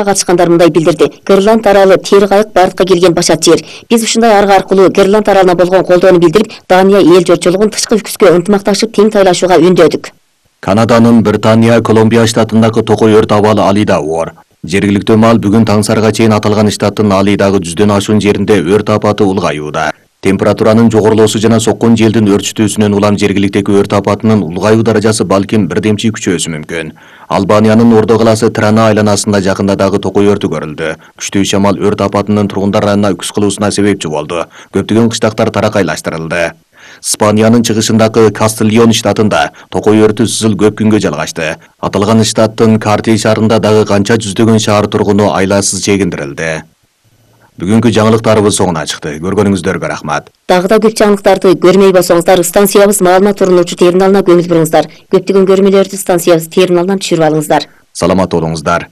катышкандар мындай билдирди. Гренланд аралы тери кайык бардыкка келген башат жер. Биз ушундай арга аркылуу Гренланд аралына болгон колдоону билдирип, Дания эл журтчулугун тышкы күчкө ынтымакташып тең тайлашууга үндөдүк. Канаданын Британия Колумбия штатындагы токой өрт абалы Алида оор. Жергиликтүү маал бүгүн таңсарга чейин аталган штаттын Алидагы 100дөн ашуун жеринде өрт апаты улгаюуда. Температуранын жогорулоосу жана соккон желдин өрчүтүүсүнөн улам жергиликтеги өрт апатынын улгаюу даражасы балким бирдемчи күчөөсү мүмкүн. Албаниянын Ордо калаасы Трана айланасында жакында дагы токой өртү көрүлдү. Күчтүү шамал өрт апатынын тургундар районуна үкс кылуусуна себепчи болду. Көптөгөн кыштактар таракайлаштырылды. Испаниянын чыгышындагы Кастильон штатында токой өртү сызыл көп күнгө жалгашты. Аталган штаттын Карти шаарында дагы канча жүздөгөн шаар тургуну айласыз чегиндирилди. Бүгүнкү жаңылыктарыбыз соңуна чыкты. Көргөнүңүздөргө рахмат. Дагы да көп жаңылыктарды көрмөй болсоңуздар, станциябыз маалымат турунуучу терминалына көңүл буруңуздар. Көптөгөн көрмөлөрдү станциябыз терминалынан түшүрүп алыңыздар. Саламат болуңуздар.